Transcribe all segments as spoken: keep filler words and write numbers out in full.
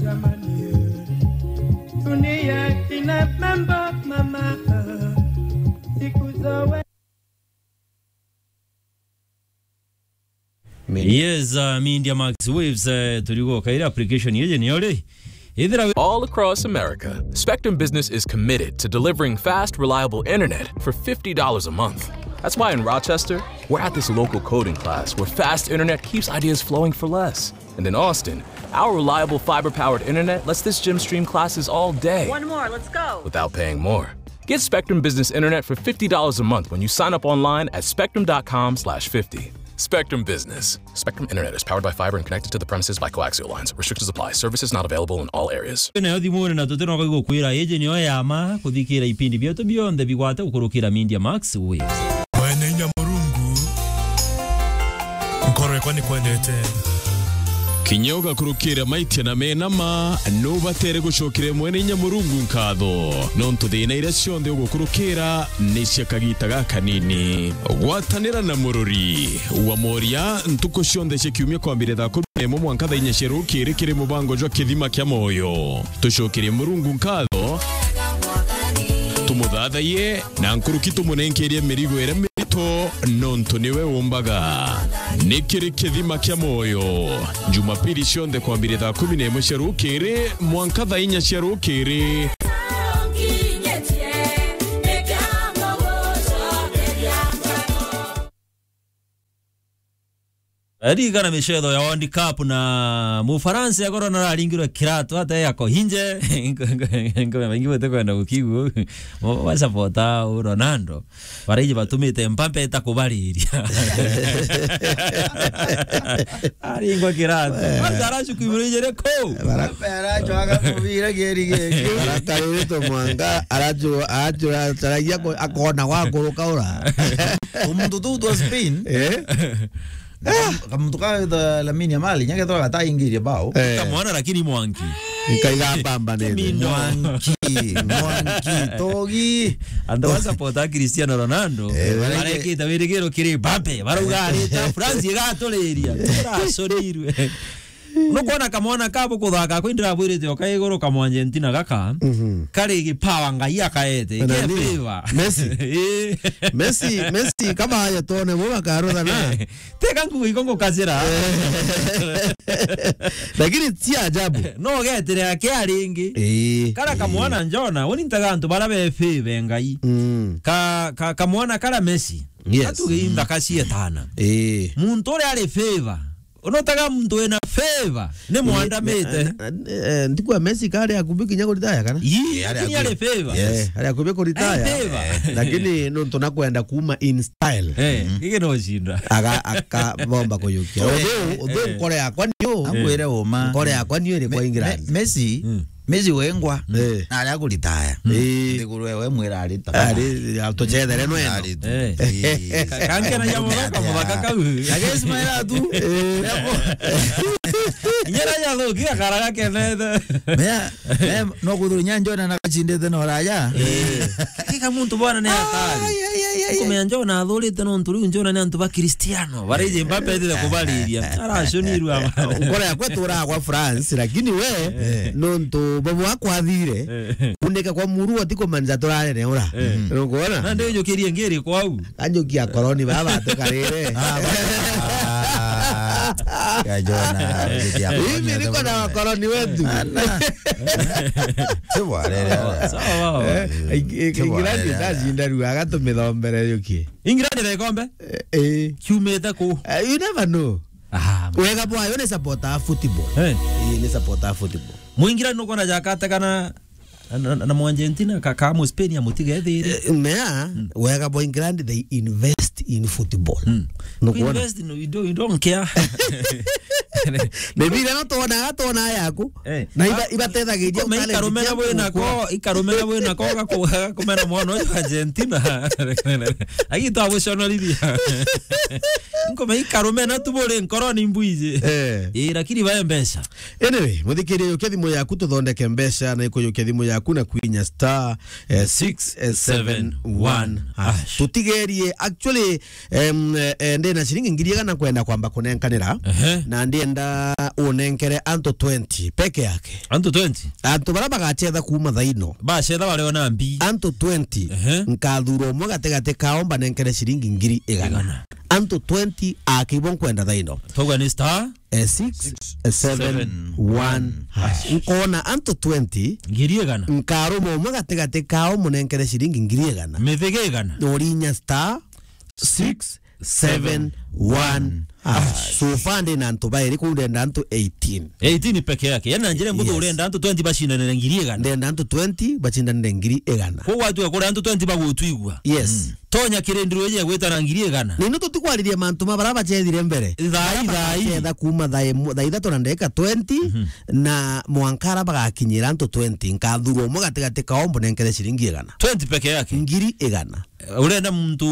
Jamani, dunia ina mambo mama, siku zoe. Yes, uh, Media Max Waves, uh, turigo kaira application yeje ni ore. Ithira All across America, Spectrum Business is committed to delivering fast, reliable internet for fifty dollars a month. That's why in Rochester, we're at this local coding class where fast internet keeps ideas flowing for less. And in Austin, our reliable fiber-powered internet lets this gym stream classes all day. One more, let's go. Without paying more. Get Spectrum Business Internet for fifty dollars a month when you sign up online at spectrum dot com slash fifty. Spectrum Business. Spectrum Internet is powered by fiber and connected to the premises by coaxial lines. Restrictions apply. Services not available in all areas. Nayo thimune na tutino kwa gukwira, iji niyo ya ma kuthikira ipindi bietu bionthe bigwate gukurukira Media Max Waves. Mwene inya Murungu, nkoro yakwa ni kwendete. Kinya ugakurukira maitia na mena ma, nubatere gucokire Mwene inya Murungu nkatho, nontu thina iria cionthe ugukurukira ni cia kagita gakanini. Gwatanira na murori wa moria ntuku cionthe cia kiumia kwambire thaa kumi na imwe mwanka thaa inya cia rukiri kiri mubango jwa Kithima kia Moyo. Tucokerie Murungu nkatho, tumuthathaiye, na nkuruki tumunenkerie mirigo iria mirito, nontu niwe umbaga. Ni kiri Kithima kia Moyo, Jumapili cionthe kwambire thaa kumi na imwe cia rukiri mwanka thaa inya cia rukiri. Ririkana micetho ya World Cup na Mufaransa ya korona araringirwe kiratu ate yako hinje. Ngome baingi bete kwenda gukigu. Wa support u Ronaldo. Baraiji batumite Mbappe eta kubariria. Aringwa kiratu. Kwanza aracuku iburu ijere ko. Mbappe aracwaga mubira geri geki. Barakarurite mwanga, aracu-, aracu-, ataragia ko-, akona gwa kuruka ura. Umuntu tu twa Spain. Eh? Kam-, kamuntu ka the Lamine Yamal, nyake twa gataingirie bao. Eh. Kamwana lakini mwanki. Nkaiga mbamba nene. Kimindo. Mwanki, mwanki, togi. Andu ba support a Cristiano Ronaldo, eh, barekite wirigiro kiri Mbappe, barauga arita France igaturiria. Turacorirwe. Nukwona kamwana kabo kuthaka kwi ndirabwirite o ka iguru ka Mwargentina gaka, mhm, kari gipawa Ngai akaete. Na ke nini? Favor. Messi. Eh. Messi, Messi kama haya tone bo bakaruthana. Teka ngugi iko ngukacira. Lakini ti ajabu. No getere akia ringi. Eh. Kara kamwana njona, uni ntaga antu bara be favor Ngai. Mm. Ka, ka, kamwana kara Messi. Yes. Atuge inthaka cietana. Eh. Muntu uria ari favor. Unotaga muntu wina favor ni mwandamite. Ndikwa Messi kari akubi kinya kuritaya kana? Ii, eh, ari lakini akubi. Ari favor. Yes. Eh, ari akubi kuritaya. Ari favor. Eh, lakini nontu nakwenda kuma in style. Eh, mhm, gigi no cinda. Aga-, akabomba kuyukia. Eh, although, although eh, nkore yakwa niyo. Akwire uma. Nkore yakwa niyo iri kwa England. Me-, Messi, mm. Messi wengwa, eh, na aria kuritaya. Eh. Nthiguru ewe mwira arita. Ari, tucethere no eno. Ari tu. Eh. Eh. Ka-, kankena ya muthaka, muthaka kau. Agesi maira tu. Eh. Nyera ya thoki akaraga kenete. Mea, mea, no kuthuru nya Njona na gacindite no raja. Eh. Kika muntu bwana ni hatari. Ai, ai, ai, ai, ai. Kumenya Njona athurite no nturi Njona ni antu ba Cristiano. Baraije Mbappe ethire kubariria. Aracunirwe aba. Nkora yakwa turaga kwa France, lakini we, eh, nontu babu akwathire, eh, kuneka kwa muru ati kumanza turarene ura. Eh. Nukwona? Na ndio njukirie ngiri kwau. Anjukia koroni baba tukarire. Ah, ba-, ah, ya Jona, njukia koroni. Mimi niko na wakoroni wetu. Ana. Sawa, rere. Sawa, sawa. Eh, Eng-, Eng-, England ndacinda rua, agatumithombe yuki. England na ikombe? Eh, eh. Kiumite ku? Eh, you never know. Aha. Wega bwayo ni supporter a football. Eh. Ii, ni supporter a football. Muingira nukwona jakate kana na, na, na Mwargentina ka, ka Muspeni ya mutigethire. Eh, mea, mm, wega bwa England, they invest in football. Mm. Nukwona? Invest, no, you don't, you don't care. Ni bila no twona, twona yaku. Eh. Na iba, ah, ibatethagiria ikome talent ikarumena ciaku bwina gukura. Ko, ikarumena bwina ko gaku-, gakumena mwana uyu Argentina. Agitwa guconorithia. Nkome ikarumena tu buri nkoroni mbwiji. Eh. Ii, lakini bae mbeca. Anyway, muthikiria yukia thimu yaku tuthondeke mbeca na ikuyukia thimu yaku na kwinya star, eh, six seven one hash. Tutigerie, actually, em, eh, ndina ciringi ngiri igana kwenda kwamba kunenkanira. Ehe. Na ndi Ndienda unenkere antu twenty peke yake. Antu twenty? Antu baria bagacetha kuuma thaino. Bacetha bario na mbi. Antu twenty. Ehe. Nkathura umwe gatigati kao mbanenkere ciringi ngiri igana. Igana. Antu twenty akibo nkwenda thaino. Tauga ni star? Eh, six seven one hash. Nkoona antu twenty. Ngiri igana. Nkaruma umwe gatigati kao munenkere ciringi ngiri igana. Mithige igana. Urinya star six seven one hash. So far ndi na antu bairi, kuu ndenda antu eighteen. Eighteen peke yake. Yaani na njira mbuthu, yes, urenda antu twenty bacindanire ngiri igana. Ndenda antu twenty bacindanire ngiri igana. Kuu watua kuri antu twenty bagutwigua. Yes. Mm. Tonya kirindiro iji ya gwitana ngiri igana. Nino tutikwariria mantu ma baria bacethire mbere. Thaa i, thaa i. Baria bagacetha kuuma thaa imu-, thaa ithatu na ndagika twenty, mhm, na mwanka aria bagakinyira antu twenty, nkathura umwe gatigati kao mbunenkere ciringi igana. Twenty peke yake? Ngiri igana. Urenda muntu,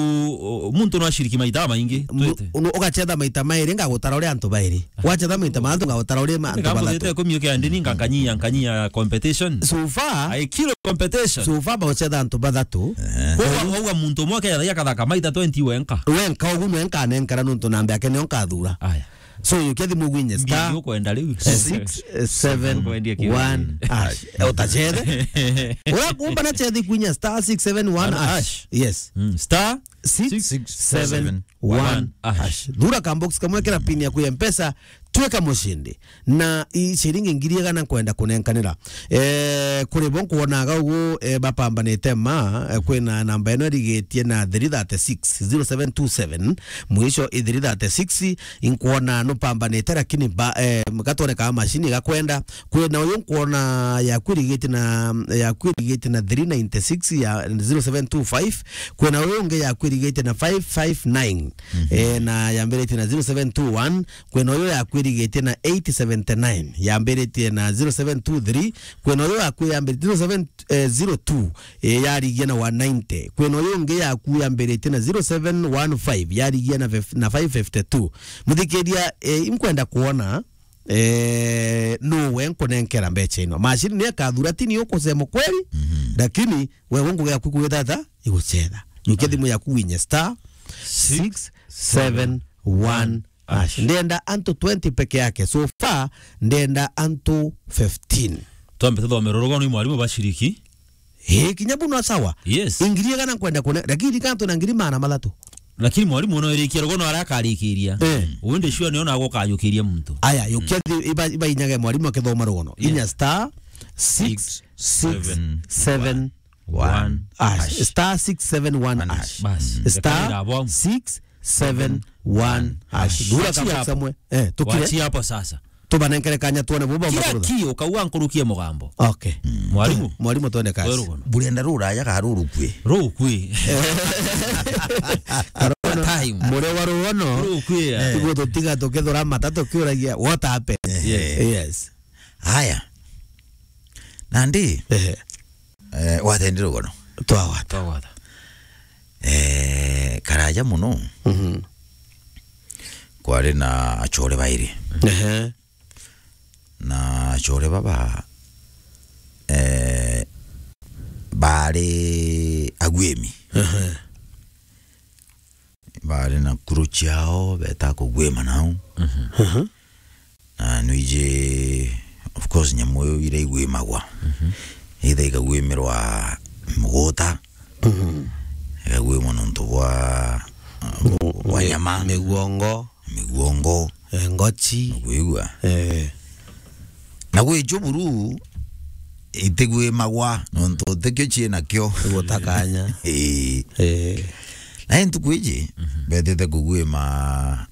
muntu no aciriki maita maingi? Mu-, twite. Unu-, ugacetha maita mairi, ngagutara uria antu bairi. Wacetha maita mantu, ngagutara uria ma-, antu bathatu. Ngambuthite kumio kia ndini, nga-, nkanyia, nkanyia competition. So far, I kill competition. So far, baucetha antu bathatu. Eh. Kwa wauga muntu umwe aketha akathaka maita twenty wenka. Wenka, ugu nwe nkanenkara nuntu namba yake nio nkathura. Aya. So, yukia thimu gwinye star, ukwenda riu? Eh, six seven one hash. Eh, utachethe. Ura kumba na chethi gwinye star six seven one hash. Hash. Yes. Mm, star six seven one hash. Thura ka box kamwe kira pin yaku ya Mpesa, tweka mushindi. Na i ciringi ngiri igana nkwenda kunenkanira. Eh, kuri bo nkwonaga ugu, eh, bapambanite ma, eh, kwina namba ino irigitie na three thirty-six, zero seven two seven, mwisho i three thirty-six, inkwona nupambanite, lakini ba, eh, gatwoneka mashini gakwenda. Kwina uyu nkwona yaku irigitie na, yaku irigitie na three ninety-six ya zero seven two five, kwina uyu ungi yaku irigitie na five five nine, mhm, eh, na yambiritie na zero seven two one, kwina uyu yaku irigitie na eight seventy-nine, yambiritie na zero seven two three, kwina uyu yaku yambiritie zero seven, eh, zero two, eh, yarigia na one ninety. Kwina uyu ungi yaku yambiritie na zero seven one five, yarigia na fif-, na five fifty-two. Muthikiria, eh, inkwenda kuona, eh, nuwe nkunenkera mbecha ino. Mashini ni akathura, ti ni ukusema kweli, mhm, lakini wewe ngugi yaku kwithata igucetha. Yukia thimu yaku winye star six seven one hash. Ndenda antu twenty peke yake. So far, ndenda antu fifteen. Twambe tuthomere rugono ni mwarimu bashiriki. Eh, kinya buno sawa. Yes. Ingiri igana nkwenda kune, lakini kantu na ngiri maana mathatu. Lakini mwarimu no irikia rugono ara akarikiria. Eh. Uende sure ni ona agokajukiria muntu. Aya, yukia thi-, iba, iba inyage mwarimu akithoma rugono. Yeah. Inya star six six seven one hash. Star six seven one hash. Bas. Star six seven one hash. Thura kabisa mwe. Eh, tukire. Wachia hapo sasa. Tubanenkere kanya tuone buba. Kira ki ukauga nkurukie mugambo. Okay. Mm. Mwarimu. Mwarimu, twende kazi. Wewe rugono. Burenda ruraya ka rurukwi? Rukwi. Corona time. Mure wa rugono. Rukwi, yeah. Iguo tutiga tukithura mata tukiuragia what happened. Yes. Yes. Haya. Nandi, ehe, eh, wathendire rugono. Twawata. Twawata. Eh, karaja muno. Mhm. Kwari na achore bairi. Ehe. Na achore baba, eh, bari agwimi. Ehe. Bari na kuru ciao beta kugwima nau. Mhm. Mhm. Na nwiji, of course, nyamu iu ira igwimagwa. Mhm. Either ikagwimirwa muguta, mhm, ikagwimwa nontu bwa, uh, bwa mi-, nyama, miguongo, miguongo, eh, ngochi. Ukwigua? Eh. Na gwi icio buru itigwimagwa nontu tikio ciinakio. Gutakanya. Ii. Eh. Na ntuku iji, mhm, betite kugwima,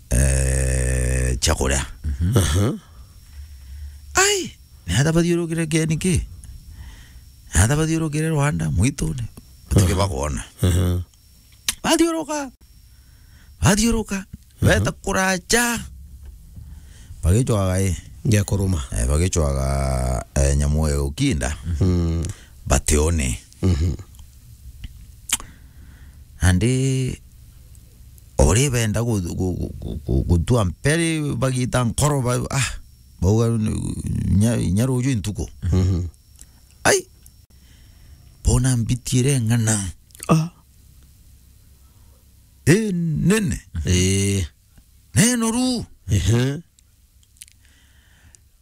eh, cia kuria. Mhm. Aha. Ai, ni ata bathiurukire kieni ki? Ni ata bathiurukire Rwanda, mwitune? Batike, aha, bakwona. Aha. Bathiuruka. Bathiuruka. Mhm. Beta kuracha. Bagicwaga i. Gia kuruma. Eh, bagicwaga, eh, nyamu ya gukinda. Mm. Batione. Mhm. Nandi ori benda gu-, gu-, gu-, gu-, gu-, gutua mperi bagita nkoro ba-, ah, bauga ni, nya, nya ruju ntuku. Mhm. Ai, bona mbiti ire ng'ana. Ah. Inene. Ii. Nenoru. Ehe.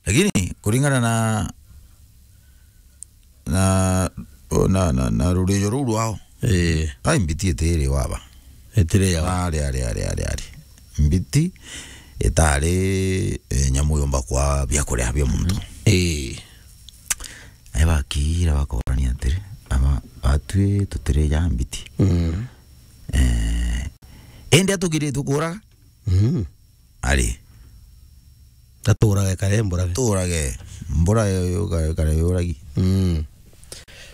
Lakini kuringana na, na, na, na, na rurijo ruu rwao, eh, ai mbiti itiri waba. Itiri ya wa. Ari, ari, ari, ari, ari. Mbiti itari, eh, nyamu yomba kwa biakuria bia muntu. Eh. Ai bakira bakorania atiri, ama batwi tutiri ja mbiti. Mm. Eh, indi atugiritwe kuraga? Mm. Ari. Aturaga ekare mbura. Turage. Mbura yo, yo ka-, kare yuragi. Mm.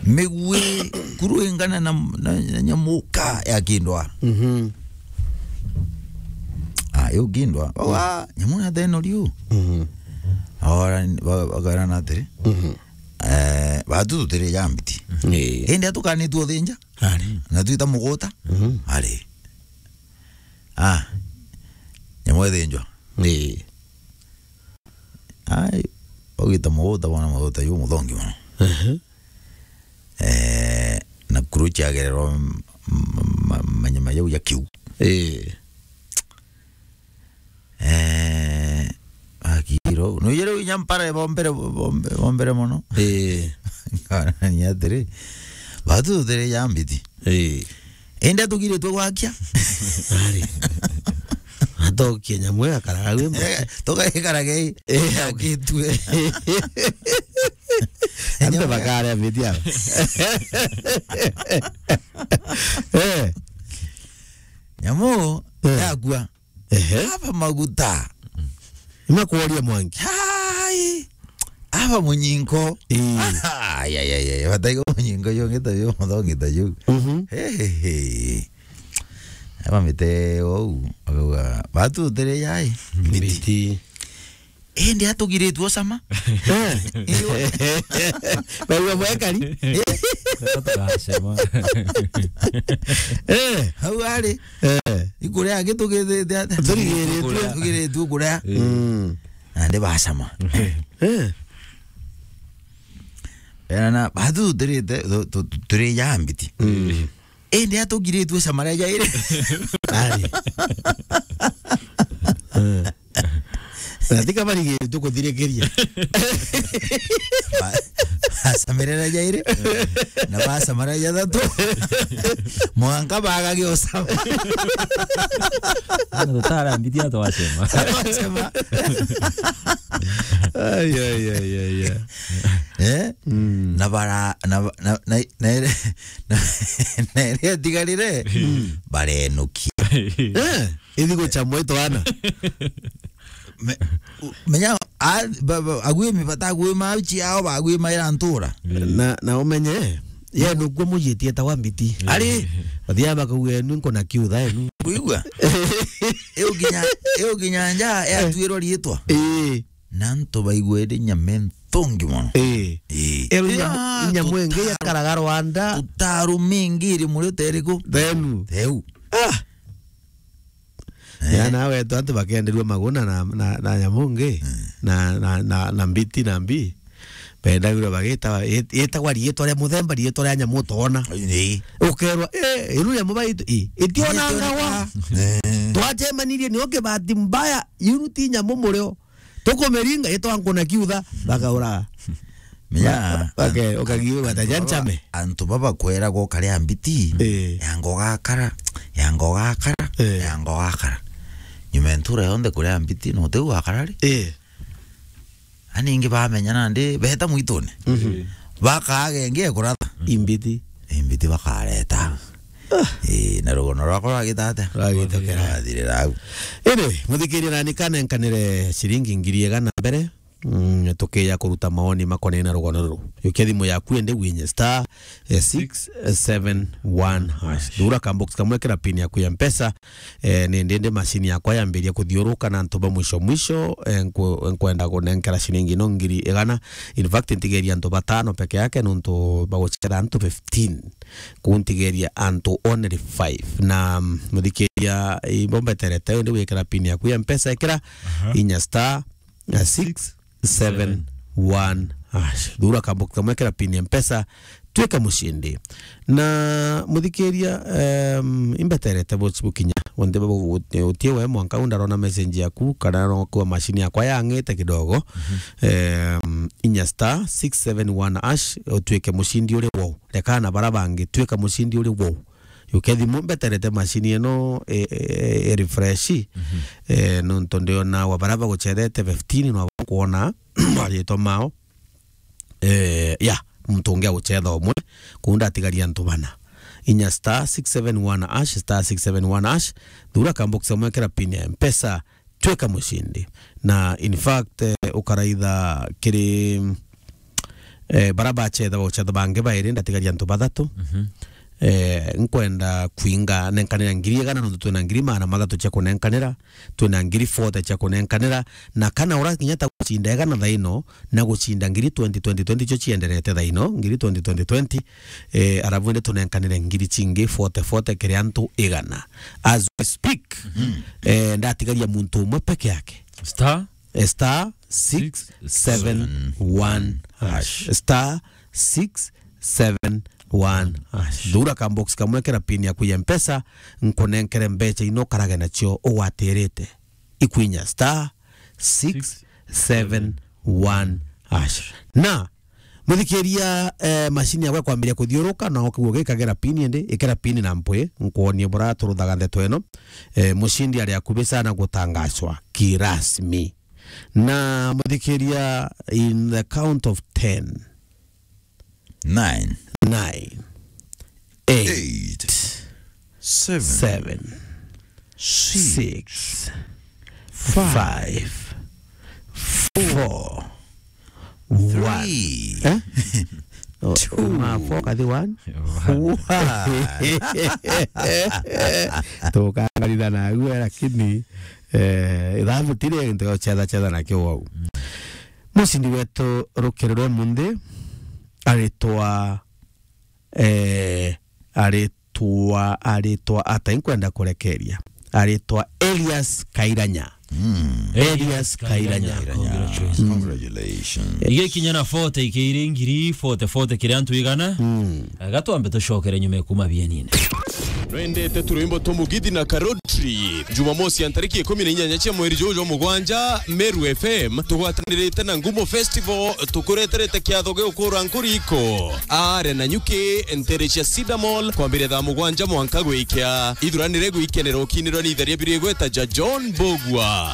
Migwi kuru ingana na, na, na nyamuka ya kindwa. Mhm. Ah, yo kindwa. Wa, nyamu na theno riu. Mhm. Ora, ba-, bakarana atiri. Mhm. Eh, batu tutiri ja mbiti. Ii. Indi atukanitwe uthinja. Ari. Na twita muguta. Mhm. Ari. Ah, nyamu ithinjwa. Ii. Ai, baugite muguta bona muguta yu muthongi mono. Ehe. Eh, na kuru ciagererwa m-, m-, ma-, manyama jau ja kiu. Ii. Eh, akiro. No yero inya mpara bombere, bombe-, bombere mono. Ii. Ngana ni atiri. Batu tutiri ja mbiti. Ii. Indi atugiritwe gwakia. Ari. Atokie nyamu akaraga gwi mbo. Eh, tugaikaraga i. Eh, akitue. Ande bakare mbiti aba. Eh. Nyamu, eh, yakua. Ehe. Aba maguta. Imakworia mwangi. Hai. Aba munyinko. Ii. Ai, ai, ai, ai. Bataiga munyinko yo ngita yo muthongi ta yo. Mhm. He, he, he. Aba mite ou. Akauga, batu tutiri jai. Mbiti. Indi atugiritwe ucama. Eh. Iyo. Baiwa mwekari. Eh. Tukacema. Eh. Hau ari. Eh. Ikuria angi tugithite ata? Turigiritwe. Turigiritwe kuria. Mm. Nandi bacama. Eh. Ena na, batu tutirite, tu-, tu-, tu-, turi ja mbiti. Mm. Indi atugiritwe cama ria jairi. Ari. Eh. Na tika barigiritwe kuthirikiria. Ba-, bacamire ria jairi. Na bacama ria jathatu. Mwanka bagage ucama. Ana tutara mbiti atwacema. Atwacema. Ai, ai, ai, ai, ai. Eh? Mm. Na bara, na, na, na, na, na, na iria itigarire, mm, barenukia. Eh, ithi gucamwa itwana. Me-, u-, menya, a-, ba-, ba-, agwimi batagwima au ciao, bagwimaira ntura. Na, na umenye, ye nukwo mujitie ta wa mbiti. Ari. Bathia bakauga, "Enu nkona kiutha enu." Kuigua? Iu kinya, iu kinya nja yatuirwa riitwa. Ii. Na antu baigwere nyama nthongi mono. Ii. Ii. Eru nyamu, nyamu ingi yakaraga Rwanda. Utaru mingi iri muri uteriku. Thenu. Theu. Ah. Eh. Ya nawe tu antu bakenderua maguna na, na, na nyamu ngi. Mm. Na, na, na, na mbiti na mbi. Bendagirwa bagita, it-, itagwa riitwa ria muthemba, riitwa ria nyamu utoona. Ii. Ukerwa, "Eh, iru nyamu baitu, ii, itionangagwa." Eh. Twacemanirie nio kibati mbaya, iru ti nyamu murio. Tukumiringa, itwa nkuna kiutha, bakauraga. Menya, ba-, bake-, an-, ukagiuga ta antu baba, janchame. Antu baba kwera gokaria mbiti, eh, ya ngogakara, ya ngogakara, eh, ya ngogakara. Nyuma ya ntura yonthe kuria mbiti, no teu wakara ri? Eh. Ani ingi bamenya nandi, beta mwitune. Mhm. Bakaaga ingi ekuratha. Imbiti. Imbiti bakareta. Ah. Ii, na rugono rwakwa rwagita atia? Rwagita kera. Rwathirira au. Indi, muthikiria nani kanenkanire ciringi ngiri igana mbere, mm, tukiya kuruta maoni makonainie na rugono ruru. Yukia thimu yaku indi winye star, eh, six seven one hash. Thura ka box kamwe kira pin yaku ya Mpesa, eh, ni ndindi machine yakwa yambiria kuthiuruka na antu ba mwisho mwisho, eh, nku-, nkwenda kunenkera ciringi no ngiri igana. In fact, ntigeria antu batano peke yake nontu bagucera antu fifteen. Kuu ntigeria antu only five. Na, mm, muthikiria, ibo mbeterete, indi wikira pin yaku ya Mpesa, ikira, aha, inya star, na six seven one ash. Thura kabox kamwe, kera pin ya Mpesa, twika mushindi. Na muthikiria, em, imbeterete bochi bukinya. Wonde bu-, uti-, utie we mwanka u ndarona message yaku, kana no kwa machine yakwa yang'ite kidogo. Mhm. Em, inya star six seven one ash, utwike mushindi uri wou. Rekana bara bangi, twika mushindi uri wou. Yuke thimu mbeterete machine ino, e, e, e refresh. Mhm. E, nontu ndiona wa bara bagucherete fifteen no kwona maritwa mao. E, ya, muntu ungi aguchetha umwe, kuu ndatigaria antu bana. Inya star six seven one ash, star six seven one ash, thura kabox kamwe, kera pin ya Mpesa, twika mushindi. Na in fact, eh, ukaraitha kiri, eh, bara bachetha, bachetha bangi bairi, ndatigaria antu bathatu. Mhm. Eh, nkwenda kwinga nenkanira ngiri igana, nontu twina ngiri magana mathatu cia kunenkanira, twina ngiri forty cia kunenkanira, na kana ura kinya ta gucinda igana thaino, na gucinda ngiri twenty twenty twenty cio cienderete thaino, ngiri twenty twenty twenty, eh, arabu indi tunenkanire ngiri cingi forty forty kiri antu igana. As we speak, mhm, eh, ndatigaria muntu umwe peke yake. Star? Eh, star six seven one hash. Six seven one hash. Star six seven one hash. Thura kabox kamwe, kera pin yaku ya Mpesa, nkunenkere mbecha ino karage nacio ugwatirite. Ikwinya star six seven one hash. Na muthikiria, eh, machine yakwa kwambiria kuthiuruka, na ukigua gikagera pin indi, ikera pin na mpwi, nkuonie bura turuthaga ndeto ino. Eh, mushindi ari akubi sana gutangazwa kirasmi. Na muthikiria, in the count of ten. Nine. Nine. Eight. Eight. Seven. Seven. Six. Six. Five. Five. Four. One. Three. Eh? Oh, two. Ma four kathi one. One. One. Tukangaritha na agwe, lakini, eh, ithabu tiri into chetha chetha na kiwau. Mucindi wetu rukiri rwa munthi aritwa, eh, aritwa, aritwa ata? Inkwenda kurekeria. Aritwa Elias Kairanya. Mm. Elias Kairanya. Kairanya. Congratulations. Congratulations. Igikinya na forty ikiri ngiri, forty, forty kiri antu igana. Mm. Gatwambe tucokere nyuma ya kuma bienine. Nwendete turwimbo twa Mugithi na Karotri? Jumamosi ya ntariki ikumi na inyanya cia mweri juju jwa mugwanja, Meru F M tugwatanirite na Ngumo Festival tukureterete kiatho gia ukura nkuriko. Are na nyuki ntere cia Cedar Mall kwambiria thaa mugwanja mwanka gwikia. Ithuranire gwikenera ukinirwa ni itheria biri igweta ja John Bogwa.